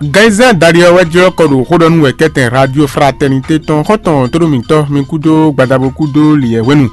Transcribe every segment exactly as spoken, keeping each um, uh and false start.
Ganyizɛ́n dali ɔ́ wɛ jlɔ́ kɔ ɖo xó ɖɔ nú wɛ kɛ́tɛn Radio Fraternité tɔn xɔ́ntɔn tóɖó mǐtɔn mi kúdó gbadabo kúdó liyɛ hwenu.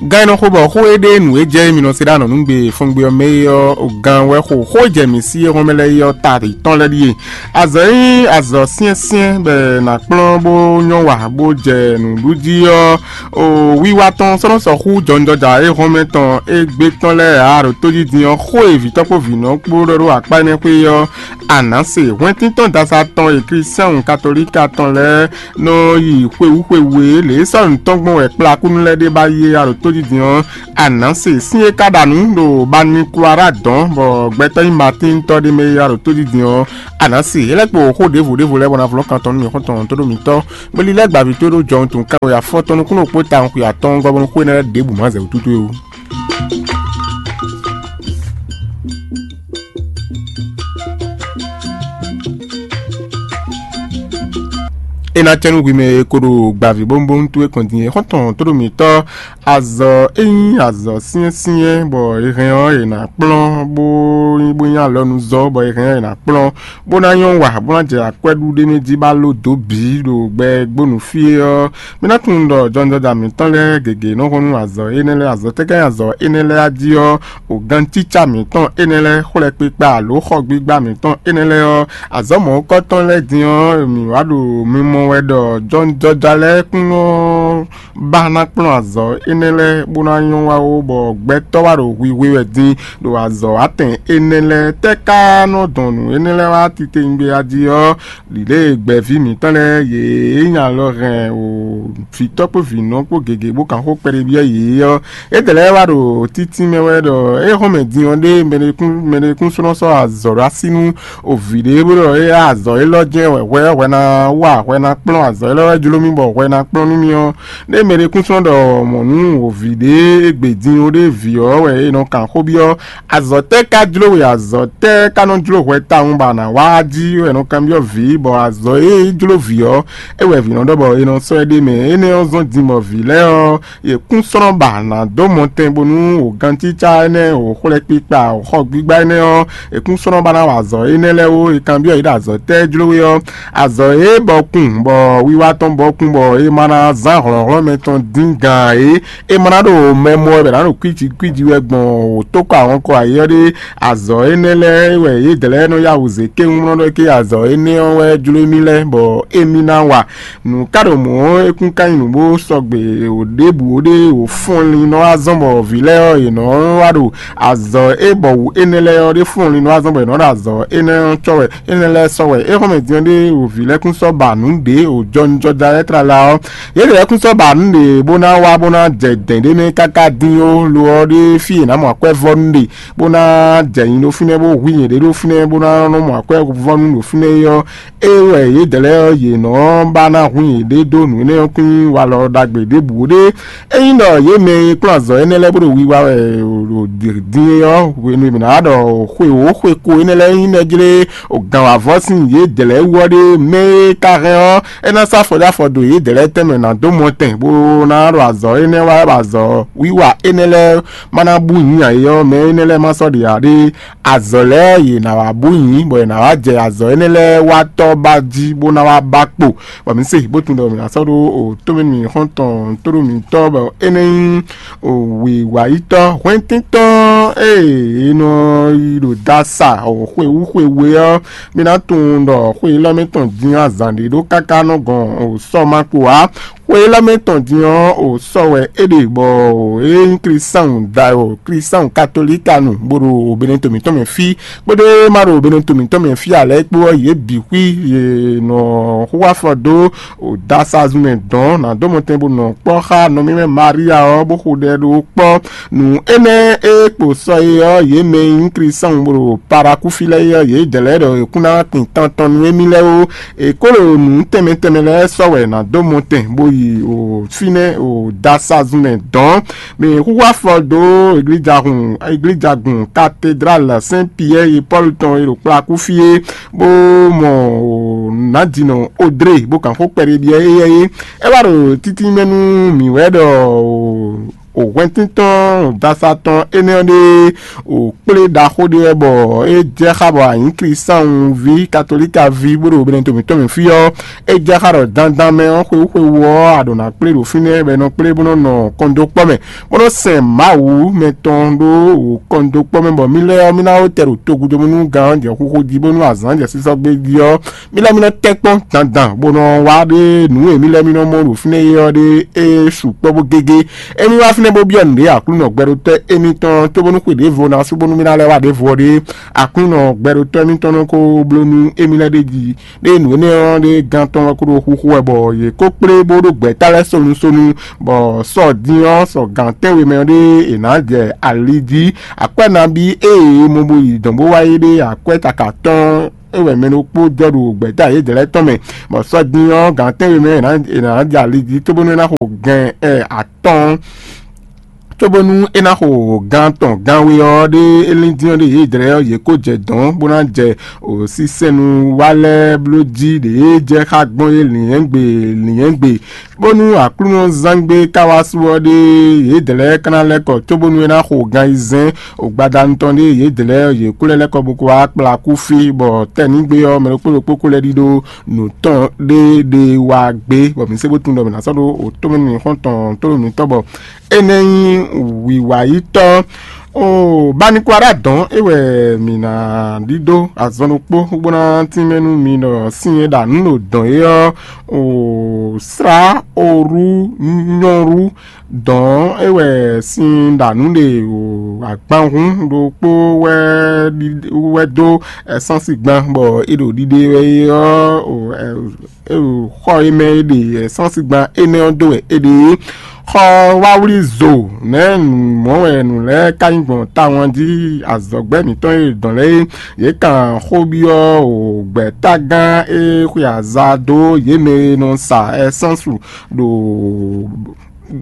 Gán e nɔ xo bɔ xó e ɖe nǔ e jɛ mi nɔ se ɖó anɔ̌nugbe fɔngbe ɔ́ mɛ é ɔ́, gán wɛ xo xó e jɛ mǐ sí e hɔn mɛ lɛ́ɛ é ɔ́ ta tɔn lɛ́ɛ ɖíe. Azɔ̌ e nyí azɔ̌ syɛ́nsyɛ́n bɔ è nǎ kplɔ́n bó nyɔ́ wa bó jɛ nǔɖuɖu jí ɔ́, o wiwa tɔn sɔ́ nɔ sɔ́ xú jɔnjɔja e hɔn mɛ tɔn égbé tɔn lɛ́ɛ ǎ ɖo tójí din ɔ́, xó e vǐtɔ́ kpó vǐnɔ kpó ɖɔ ɖó akpá énɛ́ xwé ɔ́, a nǎ se. Hwɛntíntɔ́n dasa tɔn e Klísián katolíka tɔn lɛ́ɛ nɔ yi xwewú xwewú e lě e sɔ́ nǔ tɔn gbɔn wɛ kplá kúnú lɛ́ɛ ɖe ba yi é a ɖo tójí din ɔ́, a nǎ se. Sín e ka ɖa nǔ ɖo Banikwara dɔn bɔ gbɛtɔ́ nyí Matín tɔ́ ɖé mɛ e a ɖo tójí din ɔ́, a nǎ se. É lɛ́ kpo xó ɖěvo ɖěvo lɛ́ɛ bɔ ná vlɔ́ kan tɔn nú mì xɔ́ntɔn tó ɖo mǐtɔn. Bó lílɛ́ gbavǐ tó ɖó jɔhɔn tun káwe afɔtɔn nukúnnú kpó tawun xwe atɔ́ɔ́ngɔ́ bónú xó énɛ́ lɛ́ɛ ɖěbǔ má zɛ wútútú é ó. É ná tɛ́ nú hwi mɛ e ko ɖo gbavǐ bónúbónú towe kɔn din é xɔ́ntɔn tó ɖo mǐtɔn azɔ̌ e nyí azɔ̌ syɛ́nsyɛ́n bɔ è hɛn ɔ́ è nǎ kplɔ́n bó nyí bó nyí alɔnuzɔ́ bɔ è hɛn ɔ́ è nǎ kplɔ́n bó ná nyɔ́ wa bó ná jɛ akwɛ́ɖuɖémɛ jí bó ná ló dǒ bǐ ɖo gbɛ gbónú fí é ɔ́, mi ná tunwun ɖɔ jɔnjɔja mǐtɔn lɛ́ɛ gěgé nɔ hɔn nú azɔ̌ énɛ́ lɛ́ɛ. Azɔ̌ tɛ́ ká nyí azɔ̌ énɛ́ lɛ́ɛ a jí ɔ́, o gancícá mǐtɔn énɛ́ lɛ́ɛ, xwlɛkpikpa alo xɔgbígbá mǐtɔn énɛ́ lɛ́ɛ ɔ́, azɔ̌ mɔ̌hunkɔtɔn lɛ́ɛ din ɔ́, mǐ wá ɖo mimɔ wɛ ɖɔ jɔnjɔja lɛ́ɛ kún nɔ ba ná kplɔ́n azɔ̌ énɛ́ lɛ́ɛ bó ná nyɔ́ wá ó, bɔ gbɛtɔ́ wá ɖo hwihwe wɛ din ɖo azɔ̌ atɛn énɛ́ lɛ́ɛ. Tɛ́ ka nɔ dɔn nǔ énɛ́ lɛ́ɛ wá titewungbe a jí ɔ́, lǐlé e gbɛ̌ví mǐtɔn lɛ́ɛ yě nyí alɔ hɛn o vǐtɔ́ kpó vǐnɔ kpó gěgé bó kan xó kpɛɖé byɔ́ yě ɔ́, é dɛ lɛ́ɛ wá ɖo títí mɛ wɛ ɖɔ é hɔn mɛ din ɔ́ ɖé mɛɖekún mɛɖekún sɔ́ nɔ sɔ́ azɔ̌ ɖó así nú o vǐ ɖé bó ɖɔ é azɔ̌ élɔ́ jɛ́n wɛ hwɛ ɔ́ hwɛ ná wa hwɛ ná kplɔ́n azɔ̌ élɔ́ wɛ jló mì bɔ hwɛ ná kplɔ́n nú mì ɔ́, ɖé mɛɖekún sɔ́ ɖɔ mɔ̌ nú o vǐ ɖé e gbe din ó ɖé vǐ ɔ́ wɛ è nɔ kan xó byɔ́. Azɔ̌ tɛ́ ka jló we? Azɔ̌ tɛ́ ka nɔ jló hwɛ tawun bɔ a nǎ wá jí wɛ è nɔ kanbyɔ́ vǐ, bɔ azɔ̌ e jló vǐ ɔ́, é wɛ vǐ nɔ ɖɔ bɔ è nɔ sɔ́ ɛ ɖ'é mɛ. Énɛ́ ɔ́ zɔ́n din bɔ vǐ lɛ́ɛ ɔ́, yě kún sɔ́ nɔ ba nǎ dó mɔtɛn bónú wǒgancícá énɛ́, wǒxwlɛ́kpikpa, wǒxɔgbígbá énɛ́ ɔ́, yě kún sɔ́ nɔ ba ná wa azɔ̌ énɛ́ lɛ́ɛ ó. È kanbyɔ́ yě ɖɔ azɔ̌ tɛ́ jló we ɔ́, azɔ̌ e bɔ kun bɔ wiwa tɔn bɔ kun bɔ è ma ná zán hlɔ̌nhlɔ́n mɛ tɔn dín gǎn é, è ma ná ɖo mɛ mɔ wɛ bɔ è nǎ ɖo kwíji kwíji wɛ gbɔn wǒtókɔ ahɔnkɔ ayé ɔ́ ɖé. Azɔ̌ énɛ́ lɛ́ɛ wɛ yědɛɛ lɛ́ɛ nɔ yá wǔ zé kéwún nɔ ɖɔ ké azɔ̌ énɛ́ ɔ́ wɛ jló émí lɛ́ɛ bɔ émí ná wa. Nǔ ka ɖo mɔ̌ ɔ́, é kún ka nyí nǔ bó sɔgbe wǒ ɖěbǔ ó ɖé wǒ fɔnlin nɔ wá zɔ́n bɔ vǐ lɛ́ɛ ɔ́, yě nɔ wá ɖo azɔ̌ é bɔ wǔ énɛ́ lɛ́ɛ ɔ́ ɖé fɔnlin nɔ wá zɔ́n bɔ yě nɔ ɖo azɔ̌ énɛ́ ɔ́ cɔ́ wɛ, énɛ́ lɛ́ɛ sɔ́ wɛ. É xɔ́mɛ din ɔ́ ɖé wǒ vǐ lɛ́ɛ kún sɔ́ ba nǔ ɖě wǒ jɔnijɔja lɛ́ɛ tlala ɔ́, yě lɛ́ɛ kún sɔ́ ba nǔ ɖě bó ná wá bó ná jɛ dɛ̌n ɖé mɛ káká dín ó. Lo ɔ́ ɖé fí è nǎ mɔ akwɛ́ vɔ́ nú ɖe bó ná jɛ nyi ɖo fínɛ́ bó hu nyɛ̌ɖé ɖo fínɛ́ bó ná nɔ mɔ akwɛ́ vɔ́ nú ɖo fínɛ́ é ɔ́, é wɛ yědɛɛ lɛ́ɛ ɔ́, yě nɔ ba ná hun yěɖée dó nǔ énɛ́ ɔ́ kún nyí walɔ ɖagbe ɖěbǔ ɖé. Ényí ɖɔ yě mɛ e kplɔ́n azɔ̌ énɛ́ lɛ́ɛ bó ɖo wiwa wɛ ɖo din é ɔ́, hwenu e mǐ ná ɖɔ xwe wǒ xwe ko énɛ́ lɛ́ɛ nyí nɛ́ jlé gǎnwǎvɔ́ sín yědɛɛ lɛ́ɛ wú ɔ́ ɖé, mɛ e ka hɛn ɔ́, é ná sɔ́ afɔ dó afɔ dó yědɛɛ lɛ́ɛ tɛnmɛ ná dó mɔtɛn bó ná ɖo azɔ̌ énɛ́ wa wɛ bɔ azɔ̌ wiwa énɛ́ lɛ́ɛ ma ná bú nyǐ ǎ é ɔ́, mɛ énɛ́ lɛ́ɛ ma sɔ́ ɖe ǎ ɖé. Azɔ̌ lɛ́ɛ yě ná wá bú nyǐ, bɔ è nǎ wá jɛ azɔ̌ énɛ́ lɛ́ɛ wá tɔ́ ba jí bó ná wá ba kpo, bɔ mǐ se bó tunwun ɖɔ mǐ ná sɔ́ ɖó o tómɛ mǐ xɔ́ntɔn tóɖó mǐtɔn bɔ énɛ́ nyí o wǐwáyítɔ́ hwɛntíntɔ́n e è nɔ yi ɖo dasa o xwewú xwewú é ɔ́, mǐ ná tunwun ɖɔ xwe élɔ́ mɛ tɔn din azǎn ɖé ɖó káká nɔ gɔn o sɔ́ ma kpo ǎ. Xwe élɔ́ mɛ tɔn din ɔ́, o sɔ́ wɛ é ɖe bɔ o é nyí Klísáun da o Klísáun katolíkanu bó ɖo o Benɛto mǐtɔn mɛ fí, kpódó e ma ɖo Benɛto mǐtɔn mɛ fí ǎ lɛ́ɛ kpó ɔ́, yě bǐ xwí yě nɔ xú afɔ dó o dasa zun mɛ dɔn ná dó mɔtɛn bó nɔ kpɔ́ xá nɔmímɛ Maria ɔ́, bó xo ɖɛ ɖó kpɔ́. Nǔ énɛ́ e kpo sɔ é ɔ́, yě mɛ e nyí Klísáun bó ɖo Parakúfí lɛ́ɛ é ɔ́, yě jɛ lɛ́ɛ ɖɔ è kún ná tin tɔntɔn nú émí lɛ́ɛ ó. È ko ɖo nǔ tɛnmɛ tɛnmɛ lɛ́ɛ sɔ́ wɛ è nǎ dó mɔtɛn bó yi o fínɛ́ o dasa zun mɛ dɔ̌n. Mǐ xúxú afɔ dó iglíjahun iglíjagun katedrále Sɛn Piyɛ́ɛ e Pɔ́lu tɔn e ɖo kplakú fí é, bó mɔ o nǎjínɔ Odré bó kan xó kpɛɖé byɔ́ éyɛ́ é. É wá ɖo títínmɛ nú mǐ wɛ ɖɔ o O hwɛntíntɔn dasa tɔn énɛ́ ɔ́ ɖe o kplé ɖaxó ɖé wɛ bɔ é jɛ xá bɔ anyǐklisánwu ví katolíka ví bó ɖo Benɛto mǐtɔn mɛ fí ɔ́, é jɛ xá ɖɔ dandan mɛ ɔ́ xwewú xwewú ɔ́ a ɖǒ ná kplé ɖo fínɛ́ bɔ è nɔ kplé bó nɔ́ nɔ kɔndókpɔ́ mɛ, bó nɔ́ sɛn Mawu mɛ tɔn ɖó o kɔndókpɔ́ mɛ bɔ mí lɛ́ɛ ɔ́ mí ná wó tɛ ɖo togudomúnúgán ɔ́ jɛ xúxú jí bónú azǎn jɛ sísɔ́ gbé jí ɔ́, mí lɛ́ mí nɔ tɛ́ kpɔ́n dandan bó nɔ wá ɖe nǔ e mí lɛ́ mí nɔ mɔ ɖo fínɛ́ é ɔ́ ɖe é sukpɔ́ bó gégé. Émí wá fínɛ́ bó byɔ́ nǔɖé Aklúnɔ gbɛɖotɔ́ émítɔn cóbónú xwe ɖěvo ná sú bónú mí ná lɛ́ wá ɖěvo ɔ́ ɖe, Aklúnɔ gbɛɖotɔ́ émítɔn nɔ ko bló nú émí lɛ́ ɖ'é jí. Ɖé nǔ énɛ́ ɔ́ ɖé gán tɔn wɛ kó ɖo xúxú wɛ bɔ yě kó kplé bó ɖó gbɛ̌ta lɛ́ɛ sonu sonu, bɔ sɔ din ɔ́ sɔ gǎn tɛ́nwe mɛ ɔ́ ɖé è nǎ jɛ ali jí. Akwɛ́ nabí ée mo bo yi dɔ̌n bó wá yi ɖe akwɛ́ káká tɔn é wɛ mɛ ɖokpó jɔ ɖo gbɛ̌ta yědɛɛ lɛ́ɛ tɔn mɛ, bɔ sɔ́ dín ɔ́ gǎn tɛ́nwe mɛ è nǎ jɛ ali jí cóbónú é ná xo gɛn ɛ atɔ́ɔ́n, cóbónú é ná xo gán tɔn gánwe ɔ́ ɖé é lín dín ɔ́ ɖe yědɛɛ ɔ́ yě kó jɛ dɔ̌n bó ná jɛ sísɛ́nu wa lɛ́ɛ bló jí ɖě jɛ xá gbɔn é lǐnyɛ́gbe lǐnyɛ́gbe, bónú Aklúnɔzángbe ka wá su ɔ́ ɖe yědɛɛ lɛ́ɛ ka ná lɛ́ kɔ cóbónú é ná xo gan ayizɛ́n. O gbadanu tɔn ɖe yědɛɛ lɛ́ɛ yě kú lɛ́ lɛ́ kɔ bó kó wá kplá kú fí, bɔ tɛ́nígbe ɔ́ mɛ ɖokpó ɖokpó kó lɛ́ ɖidó nǔ tɔn ɖé ɖe wá gbé, bɔ mǐ se bó tunwun ɖɔ mǐ ná sɔ́ ɖó o tómɛnú xɔ́ntɔn tónú mǐtɔn bɔ é nɛ́ nyí wǐwayítɔ́. O Banikwara dɔn é wɛ mǐ ná ɖidó azɔn ɖokpó bó ná tínmɛ nú mi ɖɔ sin e ɖo anǔ ɖo dɔn é ɔ́, o slá orú nyɔ́rú dɔn é wɛ sin ɖo anǔ ɖe o agbanhún ɖokpó wɛ wɛ dó ɛsánsi gban bɔ é ɖo ɖiɖe wɛ é ɔ́, o ɛ- é ɖo xɔ e mɛ é ɖe ɛsánsi gban énɛ́ ɔ́ dó wɛ é ɖe é. Xɔ wáwlí zo nɛ̌ mɔ̌ wɛ nǔ lɛ́ɛ ka nyí gbɔn tawun jí azɔ̌gbɛ́ mǐtɔn e dɔn lɛ́ɛ é? Yě kan xó byɔ́ o gbɛ̌tágán e xwe aza dó yě mɛ e nɔ sa ɛsánsu ɖo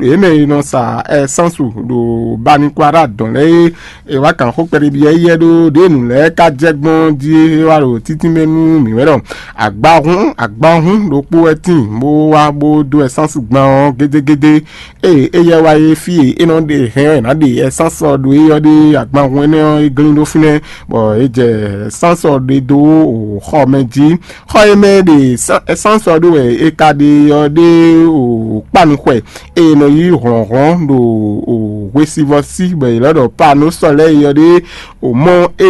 yě mɛ e nɔ sa ɛsánsu ɖo Banikwara dɔn lɛ́ɛ é. È wá kan xó kpɛɖé byɔ́ éyɛ́ ɖó ɖěe nǔ lɛ́ɛ ka jɛ gbɔn jí é wá ɖo títínmɛ nú mǐ wɛ ɖɔ agbahún agbahún ɖokpó wɛ tíin bó wá bó dó ɛsánsu gban ɔ́ gédégédé. Ée éyɛ́ wá é fí e é nɔ ɖe hɛn ɔ́ è nǎ ɖe ɛsánsu ɔ́ ɖó é ɔ́ ɖe agbahún énɛ́ ɔ́ é glín ɖó fínɛ́, bɔ é jɛ ɛsánsu ɔ́ ɖe dó xɔ mɛ jí. Xɔ e mɛ è ɖe ɛsánsu ɔ́ ɖó wɛ è ka ɖe ɔ́ ɖe kpánu xwɛ e è nɔ yí hlɔ̌nhlɔ́n ɖo hwesivɔ́ sí bɔ è lɛ́ ɖɔ Paanósɔ lɛ́ɛ é ɔ́ ɖe. O mɔ e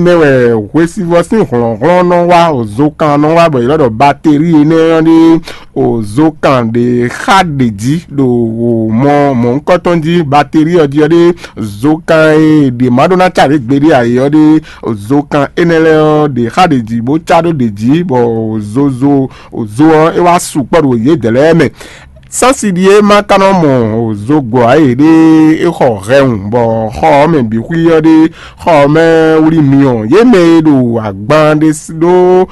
mɛ wɛ hwesivɔ́ sín hlɔ̌nhlɔ́n nɔ wá, o zokan nɔ wá bɔ è lɛ́ ɖɔ baterí énɛ́ ɔ́ ɖe. O zokan ɖě xa ɖě jí ɖo o mɔ mɔ̌hunkɔtɔn jí baterí ɔ́ jí ɔ́ ɖe. Zokan e ɖě ma ɖó ná ca ɖě gbeɖé ǎ é ɔ́ ɖe. O zokan énɛ́ lɛ́ɛ ɔ́ ɖě xa ɖě jí bó ca ɖó ɖě jí bɔ o zozo o zo ɔ́ é wá sukpɔ́ ɖo yědɛɛ lɛ́ɛ mɛ. Sánsi ɖíe ma ka nɔ mɔ zogbɔ ǎ e ɖe é xɔ hɛwun bɔ xɔ ɔ́ mɛ bǐ xwí ɔ́ ɖe xɔ ɔ́ mɛ wlí myɔ. Yě mɛ e ɖo agban ɖé s- ɖó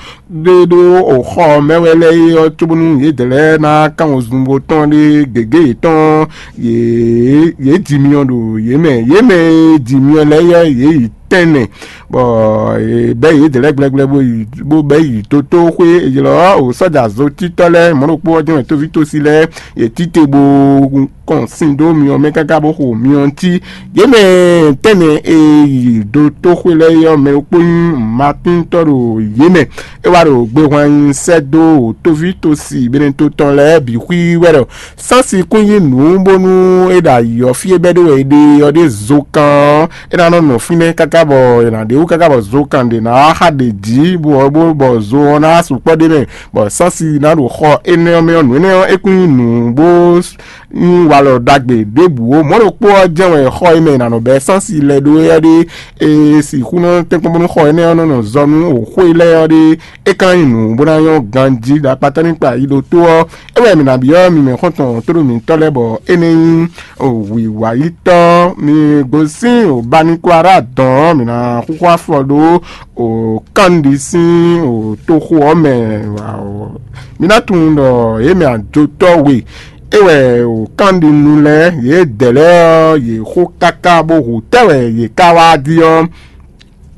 ɖé ɖó o xɔ ɔ́ mɛ wɛ lɛ́ɛ é ɔ́ cóbónú yědɛɛ lɛ́ɛ ná kán wezun bó tɔn ɖe gěgé yětɔn yě yě ji myɔ ɖo yě mɛ. Yě mɛ e ji myɔ lɛ́ɛ é ɔ́ yě yi tɛ́nnɛ, bɔ è bɛ́ yě dlɛ́ gblɛgblɛ bó yi bó bɛ́ yi tótóxwé. È ylɔ́ o sɔ́ja zotítɔ́ lɛ́ɛ mɔ̌ ɖokpó ɔ́ jɛ́n wɛ tóvítósi lɛ́ɛ yě títí bó kɔn sin dó myɔ mɛ káká bó xo myɔ cí. Yě mɛ tɛ́nnɛ e yi dó tóxwé lɛ́ɛ é ɔ́, mɛ ɖokpó nyí Matíntɔ́ ɖo yě mɛ. É wá ɖo gbehwan nyi sɛ́ dó tóvítósi Benɛto tɔn lɛ́ɛ bǐ xwí wɛ ɖɔ Sánsi kún yí nǔ bónú é ɖo ayǐ ɔ́ fí e bɛ́ ɖó wɛ è ɖe ɔ́ ɖe zokan ɔ́, é ná nɔ nɔ fínɛ́ káká bɔ è nǎ ɖe wú káká bɔ zokan ɖě ná wá xa ɖě jí bɔ bɔ zo ɔ́ ná wá sukpɔ́ ɖ'é mɛ, bɔ sánsi ná ɖo xɔ énɛ́ ɔ́ mɛ ɔ́. Nǔ énɛ́ ɔ́, é kún nyí nǔ bó nyí walɔ ɖagbe ɖěbǔ ó. Mɔ̌ ɖokpó ɔ́ jɛ́n wɛ xɔ e mɛ è nǎ nɔ bɛ́ sánsi lɛ́ɛ ɖó é ɔ́ ɖe. È sixú nɔ tɛ́n kpɔ́n bónú xɔ énɛ́ ɔ́ nɔ nɔ zɔ nú xwe lɛ́ɛ ɔ́ ɖe. É ka nyí nǔ bó ná nyɔ́ ganjí ɖo akpatánukpa yi ɖo tó ɔ́, é wɛ mǐ ná byɔ́ mi mɛ xɔ́ntɔn tóɖó mǐtɔn lɛ́ɛ bɔ é nɛ́ nyí wǐwayítɔ́. Mi gosín Banikwara dɔn ɔ́, mǐ ná xúxú afɔ ɖó kánɖi sín toxo ɔ́ mɛ. Mǐ ná tunwun ɖɔ yě mɛ ajotɔ́ we é wɛ kánɖinu lɛ́ɛ yě dɛ̌ lɛ́ɛ ɔ́, yě xó káká bó hu tɛ́ wɛ yě ká wá jí ɔ́.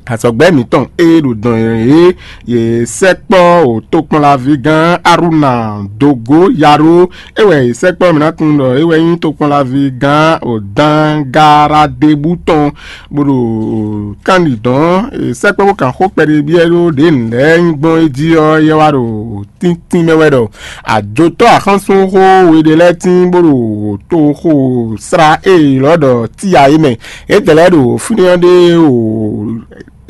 Azɔ̌gbɛ́ mǐtɔn e ɖo dɔn e yě sɛkpɔ́ o tokpɔnlaví gán Aruna Dogo Yaro, é wɛ yě sɛkpɔ́ mǐ ná tunwun ɖɔ é wɛ nyí tokpɔnlaví gán o Dangaradebú tɔn, bó ɖo kánɖidɔn e sɛkpɔ́ bó kan xó kpɛɖé byɔ́ ɖó ɖě nǔ lɛ́ɛ nyí gbɔn é jí ɔ́, yɛ wá ɖo tíntín mɛ wɛ ɖɔ ajotɔ́ axɔ́súnxó we ɖé lɛ́ɛ tín bó ɖo toxo srá e lɔ̌ ɖɔ tíya é mɛ. Yědɛɛ lɛ́ɛ ɖo fínɛ́ ɔ́ ɖe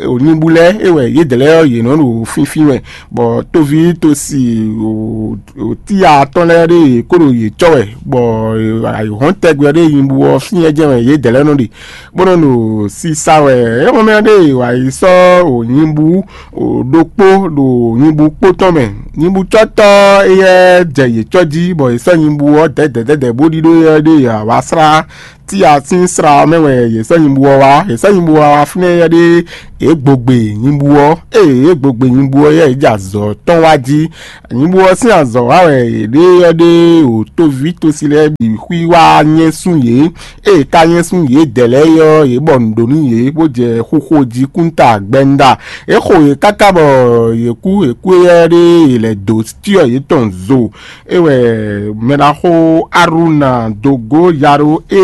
o nyibú lɛ́ɛ é wɛ yědɛɛ lɛ́ɛ ɔ́ yě nɔ ɖo fínfín wɛ, bɔ toví tosi o tíya tɔn lɛ́ɛ ɖe yě kó ɖo yě cɔ́ wɛ, bɔ ayǐhɔ́n tɛgbɛ ɔ́ ɖe nyibú ɔ́ fínɛ́ jɛ́n wɛ yědɛɛ lɛ́ɛ nɔ ɖe, bó nɔ ɖo sisa wɛ. É xɔ́mɛ ɔ́ ɖe wǎ yi sɔ́ o nyibú o ɖokpó ɖo nyibú kpó tɔn mɛ. Nyibúcɔ́tɔ́ éyɛ́ jɛ yě cɔ́ jí, bɔ yě sɔ́ nyibú ɔ́ dɛ̌dɛ̌dɛ̌dɛ̌ bó ɖíɖó éyɛ́ ɖe yě wá slá tíya sín sra ɔ́ mɛ wɛ yě sɔ́ nyibú ɔ́ wá. Yě sɔ́ nyibú ɔ́ wá fínɛ́ éyɛ́ ɖe yě gbogbe nyibú ɔ́. Ée yě gbogbe nyibú ɔ́ yɛ yě jɛ azɔ̌ tɔn wá jí. Nyibú ɔ́ sín azɔ̌ wa wɛ yě ɖe ɔ́ ɖe o toví tosi lɛ́ɛ bǐ xwí wá nyɛ́sún yě. Ée ka nyɛ́sún yědɛɛ lɛ́ɛ é ɔ́, yě bɔ nǔ ɖó nú yě, bó jɛ xixo jí kúnta gbɛnda. É xo yě káká bɔ yě kú, yě kú éyɛ́ ɖe yě lɛ̌ dó cyɔ yětɔn zo. É wɛ mɛɖaxó Aruna Dogo Yaro e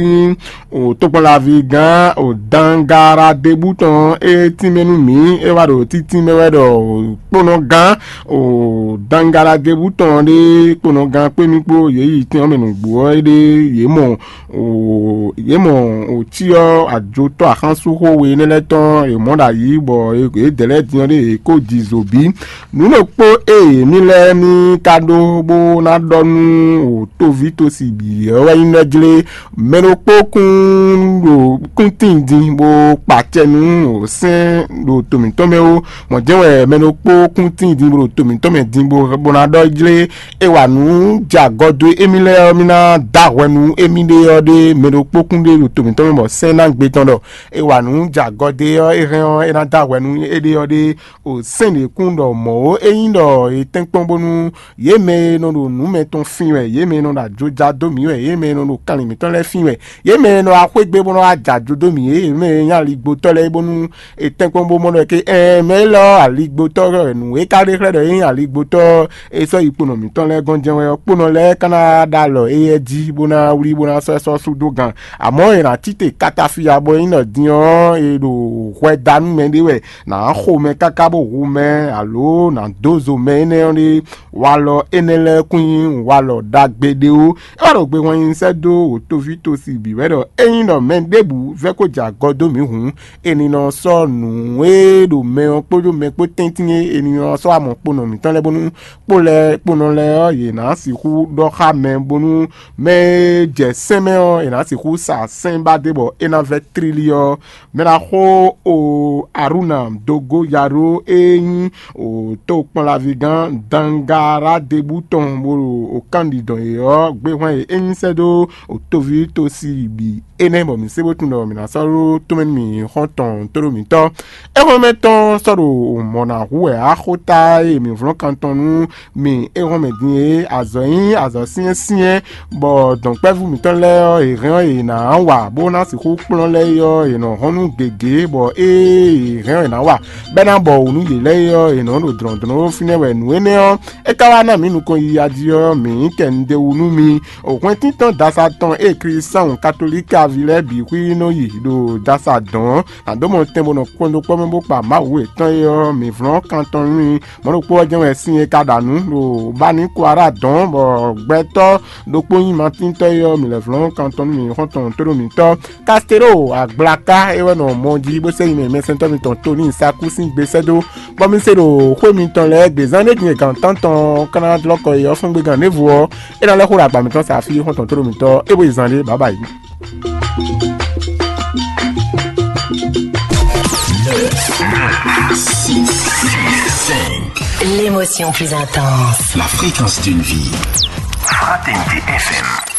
nyí o tokpɔnlaví gán o Dangaradebú tɔn e tínmɛ nú mǐ, é wá ɖo títínmɛ wɛ ɖɔ kponɔ gán o Dangaradebú tɔn ɖe kponɔ gán kpé mì kpó yě yi tɛn ɔ́ mɛ nǔgbó ɔ́ ɖe yě mɔ o yě mɔ o cyɔ ajotɔ́ axánsúxó we énɛ́ lɛ́ɛ tɔn è mɔ̌ ɖo ayǐ bɔ yědɛɛ lɛ́ɛ din ɔ́ ɖe yě kó ji zo bǐ. Nǔ ɖokpó e mì lɛ́ɛ mì ka ɖó bó ná ɖɔ nú o toví tosi bǐ ɔ́ wɛ nyí nɛ́ jlé. Mɛ ɖokpó kún ɖo kúntín din bó kpa acɛ nú sɛ́n ɖo to mǐtɔn mɛ ó. Mɔ̌ jɛ́n wɛ mɛ ɖokpó kúntín din bó ɖo to mǐtɔn mɛ din bó bó ná ɖɔ jlé. É wa nǔ jɛ agɔ dó émí lɛ́ɛ ɔ́, mì ná dó ahwɛ nú émí ɖé ɔ́ ɖé mɛ ɖokpó kún ɖé ɖo to mǐtɔn mɛ bɔ sɛ́n ná gbe tɔn ɖɔ é wa nǔ jɛ agɔ dó é ɔ́, é hɛn ɔ́, é ná dó ahwɛ nú éɖée ɔ́ ɖé. O sɛ́n ɖě kún ɖɔ mɔ̌ ó, ényí ɖɔ è tɛ́nkpɔ́n bónú yě mɛ e nɔ ɖo nǔ mɛtɔn fin wɛ, yě mɛ e nɔ ɖo ajoja dó mǐ wɛ, yě mɛ e nɔ ɖo kanlin mǐtɔn lɛ́ɛ fin wɛ, yě mɛ e nɔ wá xwé gbe bó nɔ wá jɛ ajo dó mǐ, yě mɛ e nyí aligbotɔ́ lɛ́ɛ bónú è tɛ́nkpɔ́n bó mɔ ɖɔ ké ɛɛ mɛ élɔ́ aligbotɔ́ wɛ nǔ e ka ɖe xlɛ́ ɖɔ é nyí aligbotɔ́ é sɔ́ yi kponɔ mǐtɔn lɛ́ɛ gɔ́n jɛ́n wɛ ɔ́, kponɔ lɛ́ɛ ka ná ɖo alɔ éyɛ́ jí bó ná wlí bó ná sɔ́ ɛ sɔ́ sú dó gan. Amɔ̌ è nǎ tite katafiya bɔ é nyí ɖɔ din ɔ́ è ɖo hwɛ da nú mɛ ɖé wɛ, nǎ xo mɛ káká bó hu mɛ alo nǎ dó zo mɛ énɛ́ ɔ́ ɖé. Walɔ énɛ́ lɛ́ɛ kún nyí walɔ ɖagbe ɖé ó. É wá ɖo gbe hwan nyi sɛ́ dó wǒtoví tosi bǐ wɛ ɖɔ ényí ɖɔ mɛ ɖěbǔ vɛ́ ko jɛ agɔ dó mǐ hǔn, è nǐ nɔ sɔ́ nǔ e ɖo mɛ ɔ́ kpódó mɛ kpó tɛ́ntin e è nǐ nɔ sɔ́ amɔ kponɔ mǐtɔn lɛ́ɛ bónú kpó lɛ́ɛ kponɔ lɛ́ɛ ɔ́, yě ná sixú ɖɔ xá mɛ bónú mɛ e jɛ sɛn mɛ ɔ́, è nǎ sixú sa sɛn ba dé bɔ é ná vɛ́ tlílí ɔ́. Mɛ ná xo o Aruna Dogo Yaro e nyí o tokpɔnlaví gán Dangaradebú tɔn bó ɖo o kánɖidɔn e ɔ́ gbé hwɛ́n e é nyí sɛ́ dó o toví tosi bǐ énɛ́ bɔ mǐ se bó tunwun ɖɔ mǐ ná sɔ́ ɖó tomɛ nú mǐ xɔ́ntɔn tóɖómǐtɔn. Éhɔ́nmɛ tɔn sɔ́ ɖo mɔ̌ ná hu wɛ axóta e mǐ vlɔ́n kan tɔn nú mì éhɔ́nmɛ din e azɔ̌ nyí azɔ̌ syɛ́nsyɛ́n, bɔ dɔ̌nkpɛ́vú mǐtɔn lɛ́ɛ ɔ́, è hɛn ɔ́, è nǎ wa bó ná sixú kplɔ́n lɛ́ɛ é ɔ́, è nɔ hɔn nú gěgé, bɔ ée è hɛn ɔ́, è nǎ wa bɛ́ ná bɔ wǔ nú yě lɛ́ɛ é ɔ́, è nɔ ɖo dlɔ̌ndlɔ́n fínɛ́ wɛ. Nǔ énɛ́ ɔ́, é ka wá ná mǐ nukɔn yiya jí ɔ́, mǐ nyí kɛ un ɖe wú nú mi. Hwɛntíntɔ́n dasa tɔn e Klísáwun katolíki aví lɛ́ɛ bǐ xwí nɔ yi ɖo dasa dɔ̌n ɔ́, nǎ dó mɔ tɛn bó nɔ kpɔ́n dó kpɔ́ mɛ bó kpa Mawu yětɔn é ɔ́, mǐ vlɔ́n kan tɔn nú i. Mɔ̌ ɖokpó ɔ́ jɛ́n wɛ sin e ka ɖa nǔ ɖo Baníkuará dɔ̌n, bɔ gbɛtɔ́ ɖokpó nyí Matíntɔ́ é ɔ́, mǐ lɛ́ vlɔ́n kan tɔn nú mǐ xɔ́ntɔn tóɖómǐtɔ́ Kastéɖo Agblaka é wɛ nɔ mɔ jí bó sɛ́ nyi mɛ mɛsɛntɔ́ mitɔn Toníi Sakú sín gbe sɛ́ dó, bɔ mi se ɖo xwé mitɔn lɛ́ɛ gbe zán ɖé din e gan tántɔn ɔ́ ka ná dlɔ́ kɔ yi ɔ́ fɔ́n gbe gan ɖěvo ɔ́, é ná lɛ́ xó ɖo agba mǐtɔn sa fí xɔ́ntɔn tóɖómǐtɔ́ é bó yi zán ɖé bǎbǎ yi. L'émotion plus intense. La fréquence d'une vie. Fraternité F M.